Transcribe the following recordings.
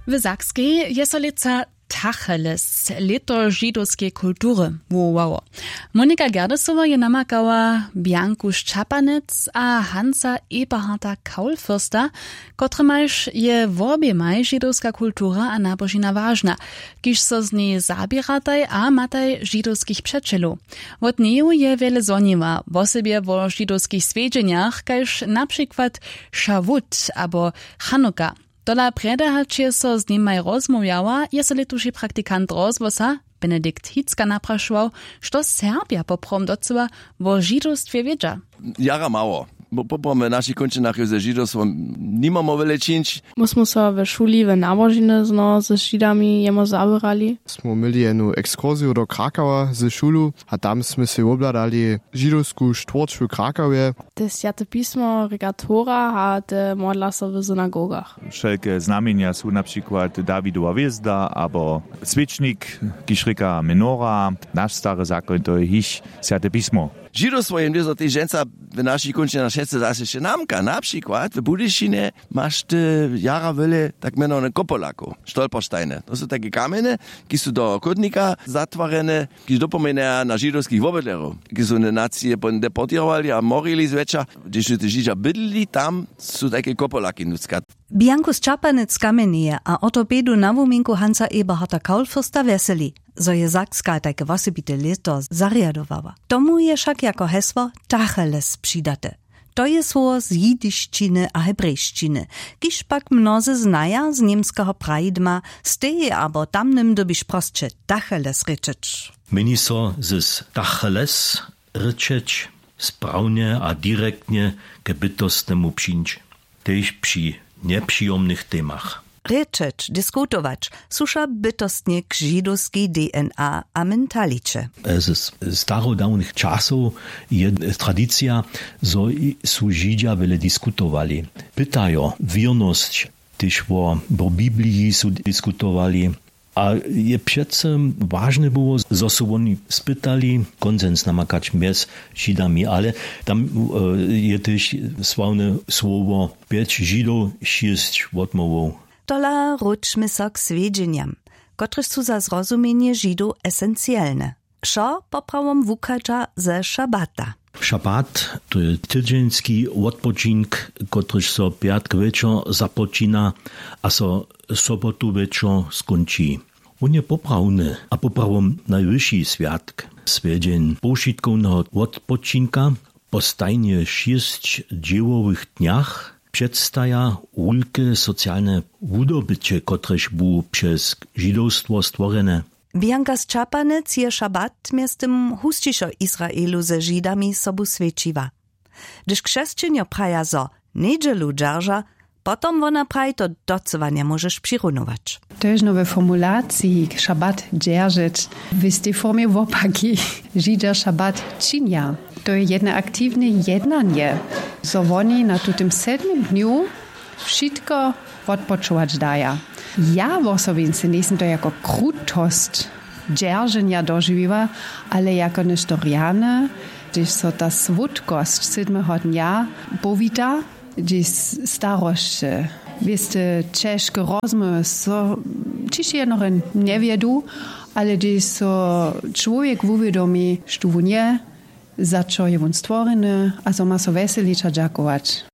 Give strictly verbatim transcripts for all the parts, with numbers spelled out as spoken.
W Sakskej je so lětsa Tacheles, lěto židowskeje kultury, wuwołało. Monika Gerdesowa je namakała Bjanku Šćapanec a Hansa Eberharda Kaulfürsta, kotrymajž je woběmaj židowska kultura a nabožina wažna, kiž so z njej zaběrataj a mataj židowskich přećelow. Wot njeju je wjele zhoniła, wosebje wo židowskich swjedźenjach, kaž na přikład Šawut abo Chanuka. Tola prjedy hač je so z nimaj rozmołwjała, je so lětuši praktikant rozhłosa Benedikt Hicka naprašował, što Serbja poprawom docyła wo židowstwje wědźa. Jara mało. Poprawom w našich kónčinach je ze židowstwom nimamo wjele čińć. My smy so w šuli w nabožiny znow z židami jemo zaběrali. Smy měli jednu ekskursiju do Krakała ze šulu a tam smy sej wobhladali židowsku štwórć w Krakałje. Te swjate pismo rěka Tora a te modla so w synagogach. Wšelke znamjenja su na přikład Dawidowa hwězda abo swěčnik, kiž rěka menora. Naš stary zakoń, to je jich swjate pismo. Židowstwo je mnjezo tež dźensa w našich kónčinach wšetcy zaso namka. Na přikład w Budyšinje maš ty jara wjele tak mjenowany kopolakow, stolpersteine. To su tajke kamjene, ki su do chódnika zatwarjene, kiž dopomnjeja na židowskich wobydlerjow, kiž su nacije deportěrowali a morili zwjetša. Hdyž su te židźa bydlili tam, su tajke kopolaki nutřka. Bjanku Šćapanec kamjenje a ortopedu na wuminku Hansa Eberharda Kaulfürsta wjeseli, zo je Sakska tajke wosebite lěto zarjadowała. Tomu je wšak jako hesło Tacheles přidate. To je słowo z jidišćiny a hebrejšćiny, kiž pak mnozy znaja z němskeho praidma, stej abo tamnym dyrbiš prosće Tacheles rěčeć. Měni so z Tacheles rěčeć sprawnje a direktnje k bytostnemu přińć, tež při njepřijomnych temach. Rěčeć, diskutować, słuša bytostnje k židowskej D N A a mentaliće. Z starodawnych časow je tradicija, zo su židźa wjele diskutowali. Pytajo wěrnosć, tež wo wo bibliji su diskutowali. A je přeco wažne było, zo su woni spytali konsens namakać mjez židami, ale tam je tež sławne słowo pjeć židow, šěsć wotmołwow. Tola wróćmy so k swjedźenjam, kotrež su za zrozumjenje židow esencielne. Wšo poprawom wuchadźa ze šabata. Šabat, to je tydźeński wotpočink, kotryž so pjatk wječor započina a so sobotu wječor skónči. Wón je poprawny a poprawom najwyši swjatk, swjedźeń powšitkowneho wotpočinka. Po stajnje šěsć dźěłowych dnjach předstaja wulke socialne wudobyće, kotrež bu přez židowstwo stworjene. Bjanka Sćapanec je šabat mjeztym husćišo w Israelu ze židami sobu swjećiła. Hdyž křesćenjo praja zo njedźelu dźerža, potom wona praji to docyła njemóžeš přirunować. To je žno we formulaciji šabat dźeržeć w istej formje wopaki. Židźa šabat činja. To je jedne aktiwne jednanje, zo woni na tutym sedmym dnju wšitko wotpočować daja. Ja wosobince njejsym to jako krutosć dźerženja dožiwiła, ale jako něšto rjane, hdyž so ta słódkosć sydmeho dnja powita, hdyž starosće, wěste ćežke rozmołwy so ćiž jednore njewjedu, ale hdyž so čłowjek wuwědomi štó wón je, za čo je wón stworjeny, a zo ma so wjeselić a dźakować.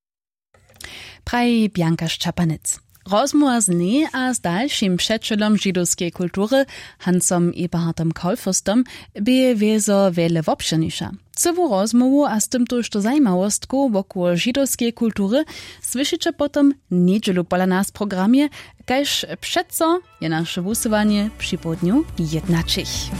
Praji Bjanka Šćapanec. Rozmołwa z njej a z dalšim přećelom židowskeje kultury, Hansom Eberhardom Kaulfürstom, bě wězo wjele wobšěrniša. Cyłu rozmołwu a z tymtož to zajimawostkow wokoło židowskeje kultury słyšiće potom njedźelu pola nas w programje, kaž přeco je naše wusyłanje připołdnju jednaćich.